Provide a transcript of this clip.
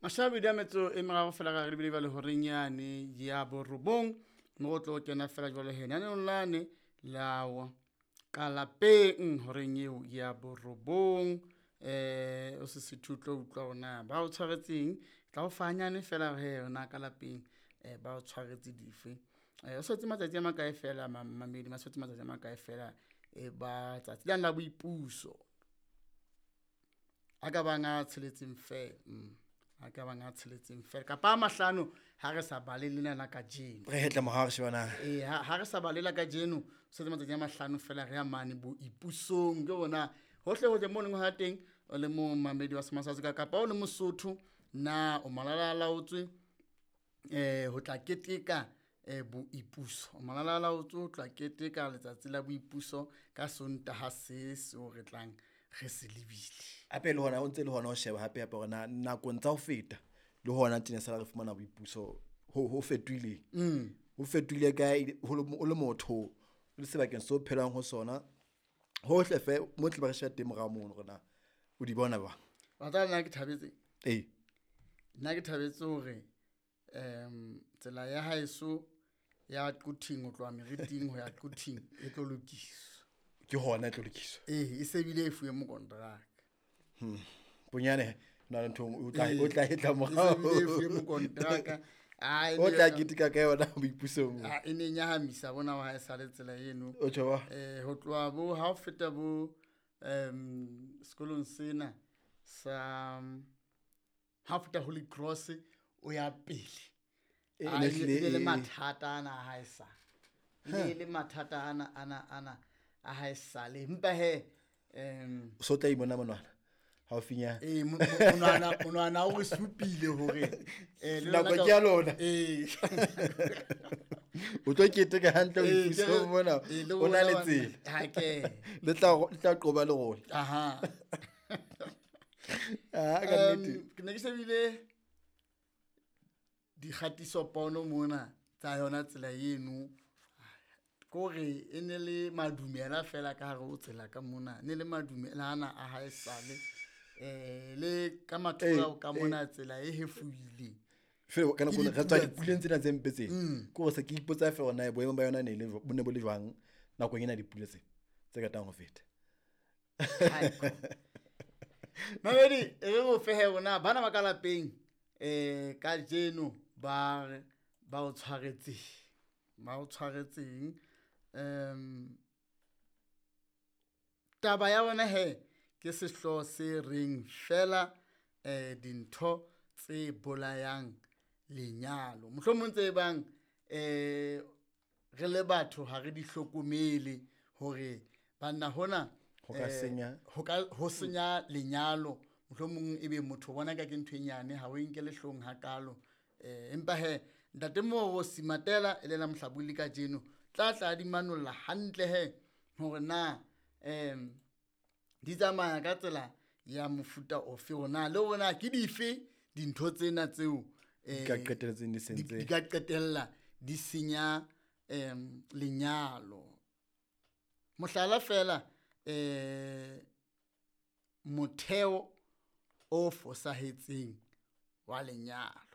Mashabedi a metso e meraro fela ka re lebile jwale horeng yane ya borobong, mo go tlo kena fela jwale he naneong lane la ka lapeng horeng eo ya borobong. O se sethu tlo utlwa hore na ba o tshwaretseng, tla o fa hanyane fela he na ka lapeng ba o tshwaretse dife. O setse matsatsi a makae fela mamedi, ma setse matsatsi a makae fela e ba tsatsi lane la boipuso a ka bang a tsheletseng fela, a ka bang a tsheletseng fela kapa a mahlano ha re sa bale lena la kajeno. Re hetle morao re sheba na. Ee, ha re sa bale la kajeno, setse matsatsi a mahlano fela re ya mane boipusong. Ke hona hohle hohle mo leng ha teng, o le momamedi wa Sema South Africa kapa o le Mosotho, na o malalalaotswe ho tla keteka boipuso. O malalalaotswe ho tla keteka letsatsi la boipuso ka Sontaha se seo re tlang re se lebile. Hape le hona o ntse le hona ho sheba hape hape hore na nakong tsa ho feta le hona tjena sala re fumana boipuso ho fetohile. Ho fetohile kae, o le motho o le sebakeng seo phelang ho sona, hohle fe mo tle ba re sheba teng morao mono hore na o di bona jwang. Wa tseba nna ke thabetse? Ee. Nna ke thabetse hore tsela ya haeso ya Quthing ho tloha Meriting ho ya Quthing e tlo lokiswa. Ke hona e tlo lokiswa. Ee, e se bile e fuwe mokonteraka. Bonyane na le ntho o tla o tla hetla E se morao. bile e fuwe mokonteraka. Ah, e O ne- tla keteka ka yona boipusong. Ah, e ne nyahamisa bona wa haesale tsela eno. O tjho ba? Ho tloha bo ha o feta bo sekolong sena sa ha o feta Holy Cross o ya pele. E Ah, ne e hlile ne le e- mathata ana a haesale. E ne le mathata ana ana ana a haesale. Empa he O so tla imona monwana haufinyana. Ee, monwana o re supile hore le Nako lona ka ke ya lona. Ee. O tlo keteka hantle Ee, boipusong ke re- mona, ee, le o na rona le bana- tsela. Ha ke. Le tla qoba lerole. Aha. Ah, ka nnete. Ke ne ke shebile dikgatisopono mona tsa yona tsela eno. Kore e ne le madumela fela ka hare ho tsela ka mona. Ne le madumela ana a haesale. Le ka mathoko ka mona tsela e hefuhile. Fela ka nako Ke re tswa dipula dipuleng tsena tse mpe tsena. Ke hore se ke ipotsa feela hore na boemo ba yona ne le bo ne bo le jwang nakong ena dipula tse tse qetang ho feta. Mamedi, e re o fehe rona bana ba ka lapeng kajeno ba re ba o tshwaretseng. Ba o tshwaretseng. Taba ya bona he ke sehlooho se reng fela dintho tse bolayang lenyalo. Mohlomong tse bang re le batho ha re di hlokomele hore banna hona Ho ka senya. ho ka ho senya lenyalo. Mohlomong ebe motho o bona ka ke ntho e nyane ha o e nkele hloohong hakalo. Empa he ntate Moro Simatela e le la mohlabulli kajeno tla tla di manolla hantle he hore na di tsamaya ka tsela ya mofuta ofe hore na le hore na ke dife dintho tsena tseo Di ka qetelletseng di sentse. di ka qetella di senya lenyalo. Mohlala fela motheo o fosahetseng wa lenyalo.